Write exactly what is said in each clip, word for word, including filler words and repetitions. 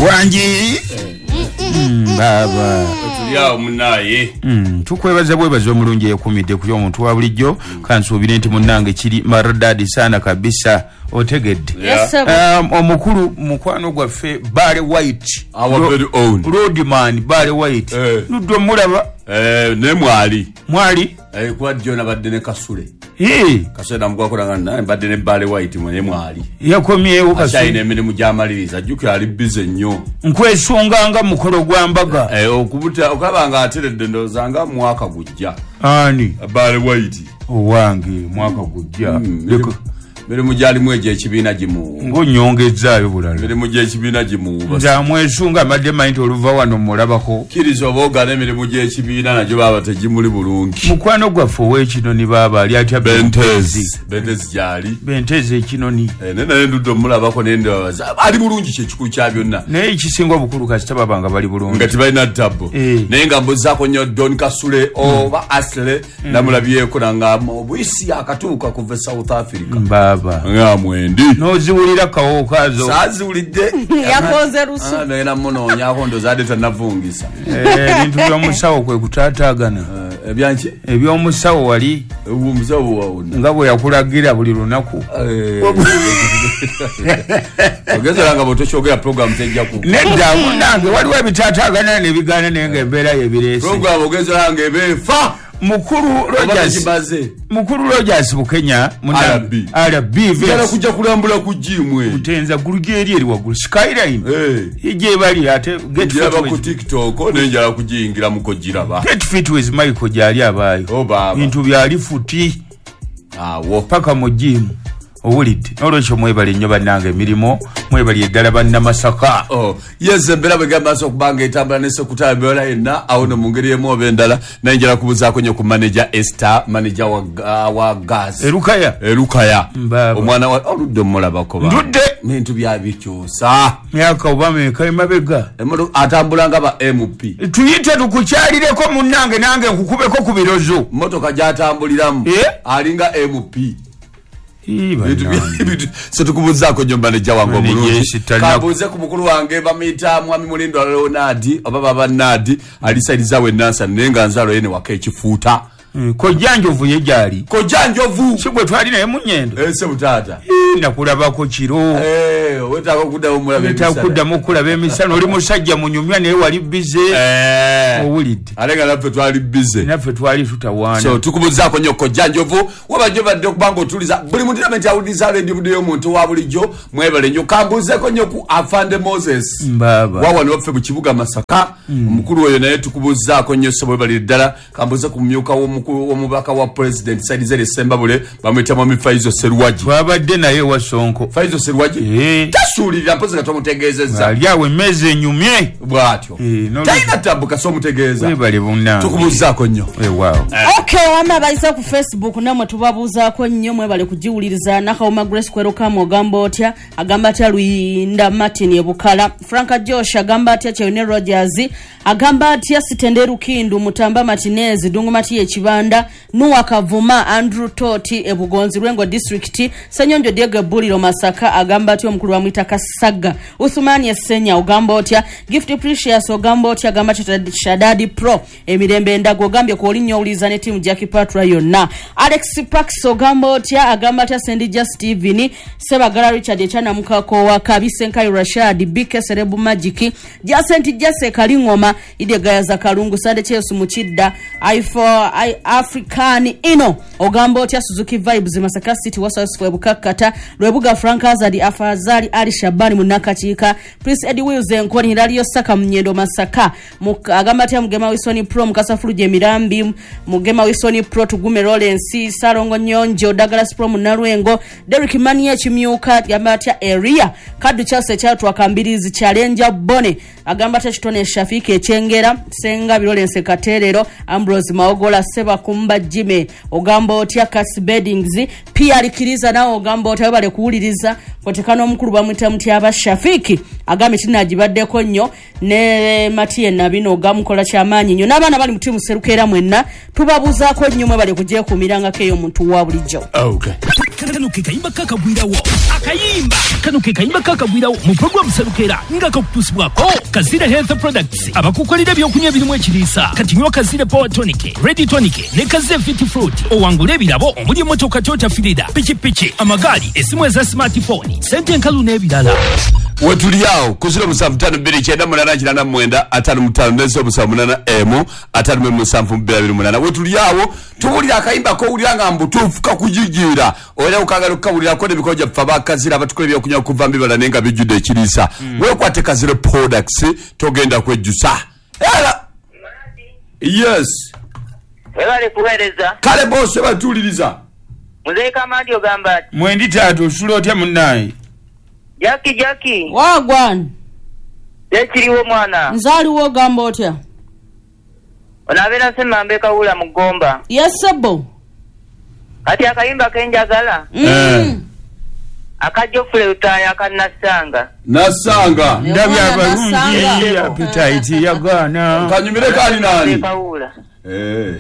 Wangi baba tuli munaye mm tukwebaza bwebaza omulungi ekumidde ku omuntu wa bulijjo kansuubire nti munnange kiri maridadi sana kabisa otegedde. Yes, um, omukulu mukwano gwaffe Barry White, our very own roadman Barry White, eh. Luddo mulaba eh ne mwali mwali eh kwa John abadde ne Kasule eh Kasule namugwakola nga mbadde ne Barry White mwe mwali yakomyewo Kasule akyalina emirimu gy'amaliriza ajjukira ali busy nnyo nkwesunganga mukolo gwa mbaga eh okubuta okabanga ateredde ndowooza nga mwaka gujja ani Barry White owange mwaka gujja mm, mirimu gyalimu egyo ekibiina gimuwuba ng'onyongezaayo bulala mirimu gy'ekibiina gimuwuba nze amwesunga amadde manyi nti oluva wano mulabako kkiriza oba ogaana emirimu gy'ekibiina nagyo baaba tegimuli bulungi mukwano gwaffe ow'ekinoni baaba ali atya Bentezi Bentezi gyali Bentezi ekinoni naye naye ndudde omulabako naye ndabaza ali bulungi kyekikulu kya byonna naye ekisinga obukulu kasita baba nga bali bulungi nga tebalina ttabbo naye nga mbuzaako nnyo Don Kasule oba Asle namulabyeko nanga obuyisi akatuuka kuva e South Africa nga mwendi noziwulira kawo kazo saziwulidde yakoze rusu naye namunoonyaako ndowooza adde tannavungisa ebintu by'omusawo kwe kutaataagana ebyanki ebyomusawo wali omusawo wawona nga bwe yakulagira buli lunaku ogezera nga bw'otokyogera program tejja ku nedda munnange waliwo ebitaataagana n'ebigaana naye nga embeera yebireese program ogezera nga eba efa Mukulu Rogers Mukulu Rogers Bukenya R B R B njala kujja kulambula ku gym we Mutenza gulugeri eri waggulu Skyline eh ije bali ate get fit ku TikTok ne njala kujingira muko giraba get fit with Michael gyali abayo oh baba bintu byali futi awo paka mu gym owulidde n'olwekyo mwebale nnyo bannange emirimu mwebali eddala bannamasaka oh yes embeera bwegamba nso okubanga etambula ne sekutala embeera yenna awo no mu ngeri emu oba endala naye njala kubuzaako nnyo ku manager Esther manager wa, uh, wa gas Erukaya Erukaya omwana wa oludde omulabako ba ndudde bintu byabikyusa myaka oba meka emabega atambula nga ba M P tuyite tukukyalireko munnange nange nkukubeko ku birozo mmotoka gy'atambuliramu eh? alinga M P so tukubuzaako nnyo manager wange omulungi kambuuze ku mukulu wange bamuyita mwami Mulindwa Leonard oba baba Nadi ali sayidi zaawe Nansana naye nga nzaalo ye ne waka ekifuuta Kojja Njovu ye gyali Kojja Njovu si gwe twali naye mu nnyendo eh sebo taata nakulabako kiro eh wetaaga okuddamu omulaba emisana wetaaga okuddamu okulaba emisana oli musajja munyumya naye wali busy eh owulidde ate nga naffe twali busy naffe twali tutawaana so tukubuzaako nnyo Kojja Njovu wabajjo badde okubanga otuliza buli muntu nti awuliriza radio budde y'omuntu wa bulijjo mwebale nnyo kambuuzeeko nnyo ku Afande Moses Mbaba wawano waffe mu kibuga Masaka omukulu oyo naye tukubuzaako nnyo ssebo webalire ddala kambuuze ku mumyuka w'omubaka wa president Saidi Zere Sembabule bamuyita mwami Faizo Serwaji twabadde naye wa Sonko Faizo Serwaji eh tasuulirira mpozi nga tomutegeezezza ali awo emmeeza enyumye bw'atyo talina tabbu kasi omutegeeza webale bunnange tukubuuzaako nnyo weewaawo okay wamma abayise ku Facebook nammwe tubabuuzaako nnyo mwebale kugiwuliriza Nakawuma Grace Kwerukamu ogamba otya agamba atya Luyinda Martin Ebukala Franka Josh agamba atya Cheyune Rogers agamba atya Sitende Rukindu Mutamba Martinez Dungu Matiye Kibanda Nuwa Kavuma Andrew Toti Ebugonzi Lwengo District Senyonjo Diego Buliro Masaka agamba atya omukulu wa Mwita Kasaga Uthumani Esenya ogamba otya Gift Precious ogamba otya agamba Shadadi Pro emirembe endago ogambye ku olinnyo owuliriza ne tiimu Jackie Patra yonna Alex Pax ogamba otya agamba atya Sendija Steven Sebagala Richard Echanamukako wa Kabise Nkayo Rashad B K Serebu Magic Jacent Jase Kalingoma Ide Gayaza Kalungu Sande Chesu Muchidda I four I African Ino ogamba otya Suzuki Vibes Masaka City Wasasfu Bukakata Lwebuga Frank Azadi Afazali Ali Shabani Munakachiika Prince Eddie Wills Enkoni Hilario Saka Mnyendo Masaka agamba atya Mugema Wilson Pro Mukasa Fuluje Mirambi Mugema Wilson Pro Tugume Lawrence Salongo Nyonjo Douglas Pro Munalwengo Derrick Mania Chimyuka agamba atya Area Kadu Chase Chatwa Kambirizi Challenger Bone agamba atya Kitone Shafiki Echengera Senga Lawrence Katerero Ambrose Maogola Seba Sebakumba Jime ogamba otya Cas Beddings P R Kiriza nawe ogamba otya bale kuwuliriza kotekano omukulu bamwita Mutyaba Shafiki agambe kinagibaddeko nnyo ne Matie Nabino ogamukola kyamaanyi nnyo n'abaana bali mu tiimu Serukeera mwenna tubabuuzaako nnyo mwe bale kugyekuumirangako eyo omuntu wa bulijjo. Okay. Kano ke kayimba kakagwirawo akayimba kano ke kayimba kakagwirawo mu program Serukeera nga kakutuusibwako Kazira Health Products abakukolera ebyokunywa ebirimu ekiriisa. Kati nywa Kazira Power Tonic, Ready Tonic ne Kazira Fit Fruit owangule ebirabo omuli emmotoka Toyota Firida, pikipiki, amagaali, essimu eza smartphone, sente enkalu n'ebirala. Wetuli awo ku ziro musanvu ttaano bbiri kyenda munaana kinaana mu mwenda ataano mu ttaano ne ziro musanvu munaana emu ataano mu musanvu bbiri abiri munaana. Wetuli awo tuwulira akayimba k'owulira nga mbutuufu kakujijiira era okagala okukawulirako n'emikono gyaffe abakazira abatukola ebyokunywa okuva mu bibala naye nga bijjudde ekiriisa. Weekwate Kazira Products togenda kwejjusa. Era yes webale kuweereza. Kale boss batuwuliriza. Muzeeyi Kamandi ogamba ati mwendi taata osula otya munnaye? Jackie Jackie wagwan ekiriwo mwana nzaaliwo ogamba otya? Onabeera Ssemambe Kawula mu Ggomba. Yes sebo. Kati akayimba kenjagala mm. aka Geoffrey Lutaaya aka Nassanga. Nassanga ndabye abalungi appetite yagaana kanyumire kali nani Kawula eh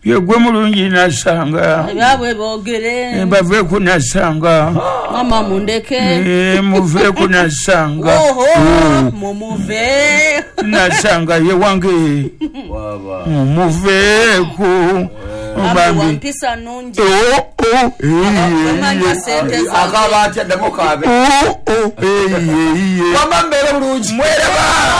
yegwe mulungi Nassanga ebyabwe boogere bave ku Nassanga mama mundeke eh muve ku Nassanga oho mumuve Nassanga ye wange baba muve ku bambi wampisa nungi oh oh amanya sente akaba atya ddamu kaabe oh oh eh eh wamma mbeere bulungi mwereba.